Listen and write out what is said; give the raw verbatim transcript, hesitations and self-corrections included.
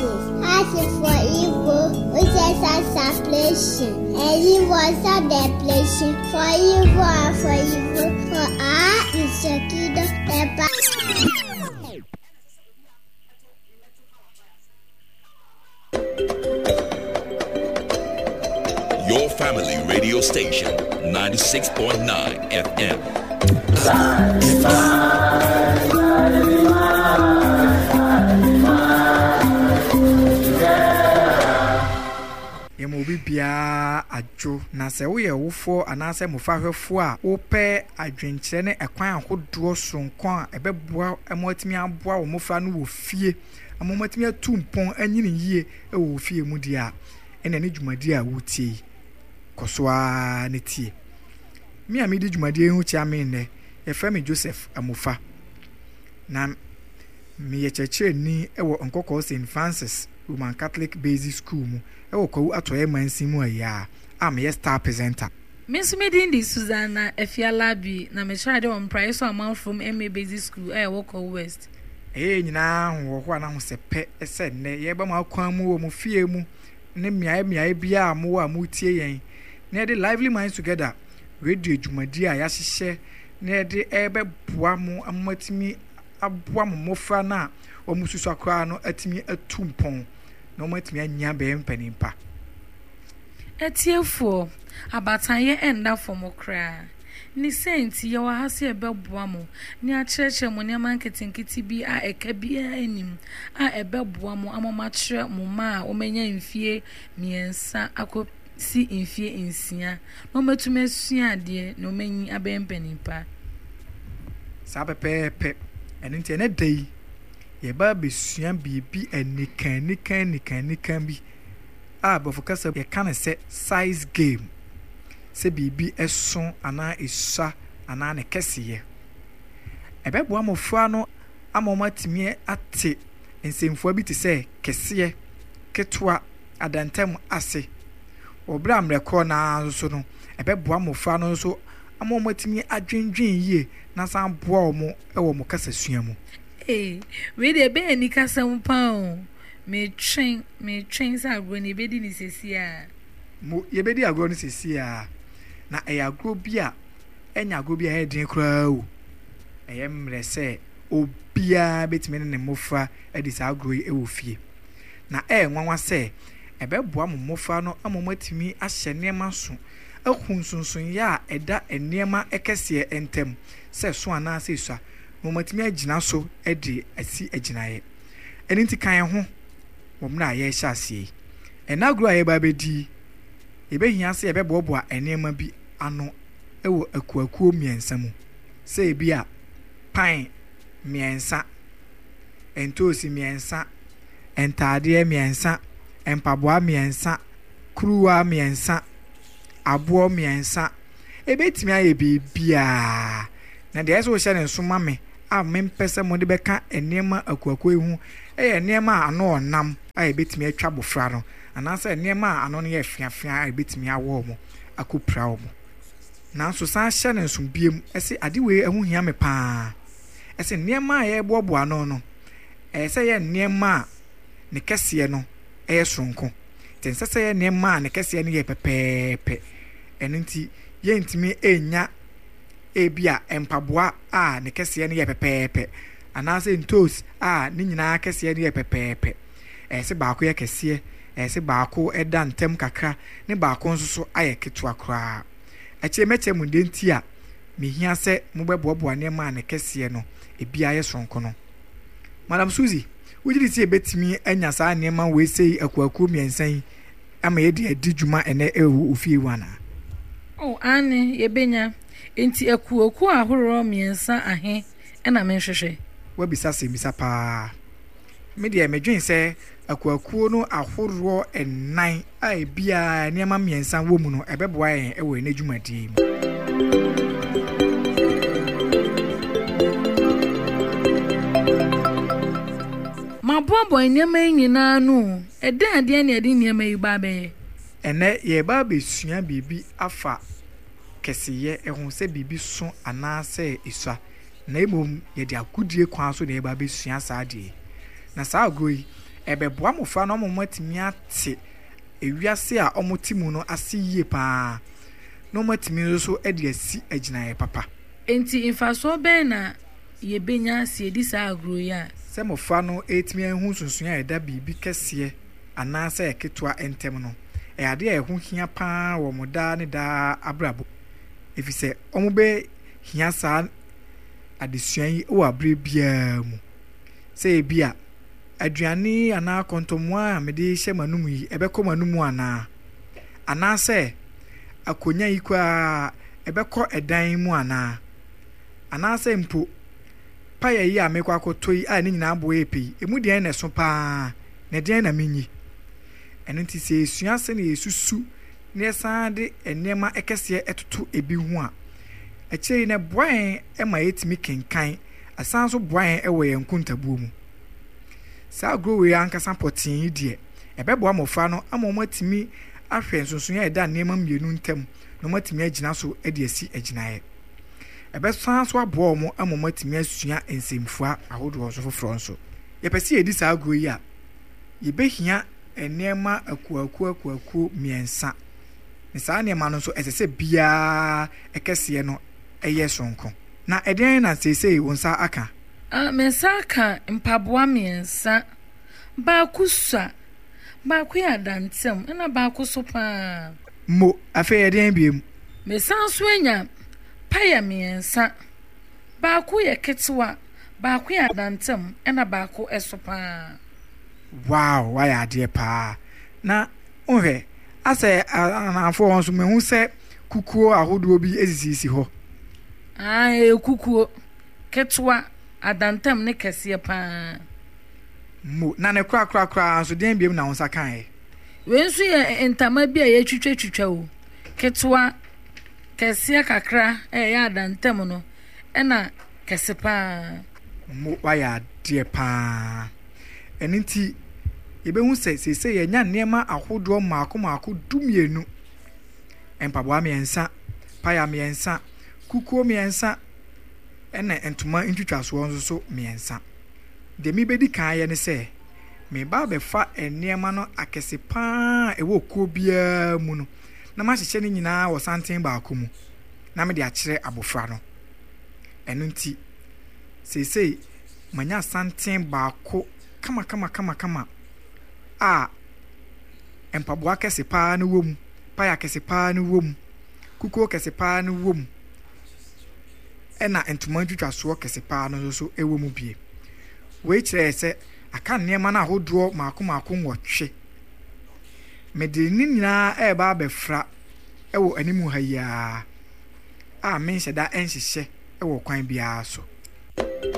Joseph. A is for evil, which is a supplication. And he was a depletion for evil and for evil. For I is the kingdom, the power. Your family radio station, ninety-six point nine F M. Yɛma obi biara adwo, na sɛ woyɛ wofoɔ anaasɛ mmɔfrahwɛfoɔ a wopɛ adwenkyerɛ ne ɛkwan ahodoɔ soronko a ɛbɛboa ma watumi aboa wo mmɔfra no wɔ fie ama wɔatumi atu mpɔn anyini yie wɔ wo fie mu deɛ a, ɛna ne dwumadie a wotie yi, kɔ so ara ne tie. Me a medi dwumadie yi ho kyia me nnɛ, yɛfrɛ me Joseph Amofa, na meyɛ kyerɛkyerɛni wɔ Nkɔkɔɔ Saint Francis Roman Catholic Basic School mu wɔ Kwawu Atɔeɛ Mansin mu ayi a a meyɛ star presenter. Me nso me din de Susanna Afialabi, na mekyerɛ ade wɔ Mpraeso Amanfrom M A Basic School a ɛwɔ Kwawu West. Ɛyɛ yɛn nyinaa ahohoahoa ne ahosɛpɛ sɛ nnɛ yɛreba mo akwan mu wɔ mo fie mu ne mmeae mmeae biara a mowɔ a moretie yɛn, na yɛde Lively Minds Together radio dwumadi a yɛahyehyɛ na yɛde ɛrebɛboa mo ama moatumi aboa mo mmɔfra no a wɔsusua koraa no atumi atu mpɔn na wɔatumi anya bɛyɛ mpanin pa. Atiefoɔ, abatanyɛ ɛnda fam koraa. Ne sɛ nti, yɛwɔ ha sɛ yɛbɛboa mo na yɛakyerɛkyerɛ mo nneɛma nketenkete bi a ɛka biara nnim a ɛbɛboa mo ama moakyerɛ mo mma a wɔanya mfie mmiɛnsa akɔsi mfie nsia na wɔatumi asua adeɛ na wɔanyi abɛyɛ mpanin pa. Saa pɛpɛɛpɛ. Ɛno nti ɛnɛ da yi, yɛba abɛsua biribi anika anika anika anika bi a aborɔfo kasa yɛka no sɛ size game, sɛ biribi ɛso anaa esua anaa ne kɛseyɛ. Ɛbɛboa mmɔfra no ama wɔatumi ate nsɛmfua bi te sɛ kɛseɛ, ketewa, adantam ase. Wɔ berɛ a mmerɛ korɔ no ara nso no, ɛbɛboa mmɔfra no nso ama wɔatumi adwendwen yie na san aboa wɔn wɔ wɔn kasasua mu. Ee, wei deɛ ɛbɛyɛ anikasɛm paa o. Metwɛn, metwɛn sɛ agorɔ no yɛbɛdi no seesei ara. Mo, yɛbɛdi agorɔ no seesei ara. Na ɛyɛ agorɔ bi a ɛnyɛ agorɔ bi a ɛyɛ den koraa o. Ɛyɛ mmerɛ sɛ obiara bɛtumi ne ne mmɔfra adi saa agorɔ yi wɔ fie. Na ɛyɛ nwanwa sɛ ɛbɛboa mo mmɔfra no ama wɔatumi ahyɛ nneɛma so, ahu nsonsonoeɛ a ɛda nneɛma kɛseɛ ntam, sɛ so anaasɛ esua, na wɔatumi agyina so de asi agyinaeɛ. Ɛno nti ka yɛn ho wɔ mmerɛ a yɛrehyɛ aseɛ yi. Ɛnnɛ agorɔ a yɛreba abɛdi yi, yɛbɛhia sɛ yɛbɛboaboa nneɛma bi ano wɔ akuakuo mmiɛnsa mu. Sɛ ebi a pan mmiɛnsa, ntoosi mmiɛnsa, ntaadeɛ mmiɛnsa, mpaboa mmiɛnsa, kuruwa mmiɛnsa, aboɔ mmiɛnsa. Ebɛtumi ayɛ biribiara. Na deɛ ɛsɛ sɛ wohyɛ ne nso ma me a mempɛ sɛ mode bɛka nneɛma akuakuo yi ho yɛ nneɛma a ano ɔnam a ebɛtumi atwa abɔfra no, anaasɛ nneɛma a ano no yɛ feafea a ebɛtumi awɔ wɔn akɔpira wɔn. Nanso san hyɛ ne nso biem sɛ ade wei ho hia me paa. Ɛsɛ nneɛma a yɛreboaboa ano no, ɛyɛ sɛ yɛ nneɛma a ne kɛseɛ no yɛ soronko. Nti ɛnsɛ sɛ yɛ nneɛma a ne kɛseɛ no yɛ pɛpɛɛpɛ. Ɛno nti yɛntumi nnya ebi a mpaboa a ne kɛseɛ no yɛ pɛpɛɛpɛ anaasɛ ntoos a ne nyinaa kɛseɛ no yɛ pɛpɛɛpɛ. Ɛyɛ sɛ baako yɛ kɛseɛ, ɛyɛ sɛ baako da ntam kakra, ne baako nso so ayɛ ketewa koraa. Akyire mɛkyerɛ mo deɛ nti a mehia sɛ mobɛboaboa nneɛma a ne kɛseɛ no ebiara yɛ soronko no. Madam Suzy, wogye di sɛ yɛbɛtumi anya saa nneɛma wei sei akuakuo mmiɛnsa yi ama yɛde adi dwuma ɛnɛ ɛwɔ wo fie hɔ anaa? Oh, aane, yɛbɛnya. Enti akuakuo ahoroɔ mmiɛnsa ahe na menhwehwɛ? Woabisa asɛmmisa paa. Me deɛ medwen sɛ akuakuo no ahoroɔ nnan a ebiara nneɛma mmiɛnsa wɔ mu no, ɛbɛboa yɛn wɔ yɛn dwumadie yi mu. Maboaboa nneɛma yi nyinaa ano o. Ɛdɛn adeɛ na yɛde nneɛma yi ba abɛyɛ? Ɛnnɛ yɛreba abɛsua biribi afa kɛseyɛ ho, sɛ biribi so anaasɛ esua, na mmom yɛde agodie kwan so na yɛreba abɛsua saa adeɛ yi. Na saa agorɔ yi, Ɛbɛboa mmɔfra no ama wɔatumi ate ewiase a wɔte mu no ase yie paa, na wɔatumi nso so de asi agyinaeɛ papa. Enti mfasoɔ bɛn na yɛbɛnya sɛ yɛdi saa agorɔ yi a? Sɛ mmɔfra no retumi ahu nsonsonoeɛ a ɛda biribi kɛseɛ anaasɛ ketewa ntam no, ɛyɛ adeɛ a ɛho hia paa wɔ wɔn daa ne daa abrabɔ mu, ɛfiri sɛ wɔbɛhia saa adesua yi wɔ aberɛ biara mu. Sɛ ebi a, aduane anaa kɔntɔmmoa a mede rehyɛ m'anom yi, ɛbɛkɔ m'anom anaa? Anaasɛ akonnwa yi koraa, ɛbɛkɔ ɛdan mu anaa? Anaasɛ mpo, paya yi a merekɔ akɔtɔ yi a ne nyinaa bo yɛ pɛ yi, emu deɛn na ɛso paa, na ɛdeɛn na menyi? Ɛno nti sɛ yɛsua sɛnea yɛsusu na yɛsan de nneɛma kɛseɛ toto ebi ho a, akyire yi no ɛboa yɛn ma yɛtumi kenkan, ɛsan nso boa yɛn wɔ yɛn nkontabuo mu. Saa agorɔ wei ankasa pɔtee yi deɛ, ɛbɛboa mmɔfra no ama wɔatumi ahwɛ nsonsonoeɛ a ɛda nneɛma mmienu ntam na wɔatumi agyina so de asi agyinaeɛ. Ɛbɛsan nso aboa wɔn ama wɔatumi asua nsɛmfua ahodoɔ nso foforɔ nso. Yɛpɛ sɛ yɛdi saa agorɔ yi a, yɛbɛhia nneɛma akuakuo akuakuo mmiɛnsa. Na saa nneɛma no nso, ɛsɛ sɛ biara kɛseɛ no yɛ soronko. Na ɛdeɛn na seesei wo nsa aka? Ah, me nsa aka mpaboa mmiɛnsa. Baako sua, baako yɛ adantam, ɛna baako so paa. Mo, afei ɛdeɛn biom? Mesan nso anya paya mmiɛnsa. Baako yɛ ketewa, baako yɛ adantam, ɛna baako so paa. Wow, woayɛ adeɛ paa. Na wohwɛ, asɛ anafoɔ hɔ nso mehu sɛ kukuo ahodoɔ bi sisisisi hɔ. Ah, ɛyɛ kukuo. Ketewa, adantam ne kɛseɛ paa. Mo, na ne korakorakoraa nso deɛn biom na wo nsa kaeɛ? Wei nso yɛ ntama bi a yɛtwitwatwitwa o. Ketewa, kɛseɛ kakra a ɛyɛ adantam no, ɛna kɛse paa. Mo, woayɛ adeɛ paa. Ɛno nti, yɛbɛhu sɛ seesei yɛanya nneɛma ahodoɔ mmaako mmaako du mmienu. Mpaboa mmiɛnsa, paya mmiɛnsa, kukuo mmiɛnsa, ɛna ntoma ntwitwasoɔ nso so mmiɛnsa. Deɛ mebɛdi kan ayɛ ne sɛ, mereba abɛfa nneɛma no akɛse paa a ɛwɔ kuo biara mu no, na mahyehyɛ ne nyinaa wɔ santen baako mu, na mede akyerɛ abɔfra no. Ɛno nti, seesei manya santen baako kamakamakamakama a mpaboa kɛse paa no wɔ mu, paya kɛse paa no wɔ mu, kukuo kɛse paa no wɔ mu, ɛna ntoma ntwitwasoɔ kɛse paa no nso wɔ mu bie. Wei kyerɛ sɛ aka nneɛma no ahodoɔ mmaako mmaako nwɔtwe. Mede ne nyinaa reba abɛfra wɔ anim ha yi ara a menhyɛ da nhyehyɛ wɔ kwan biara so.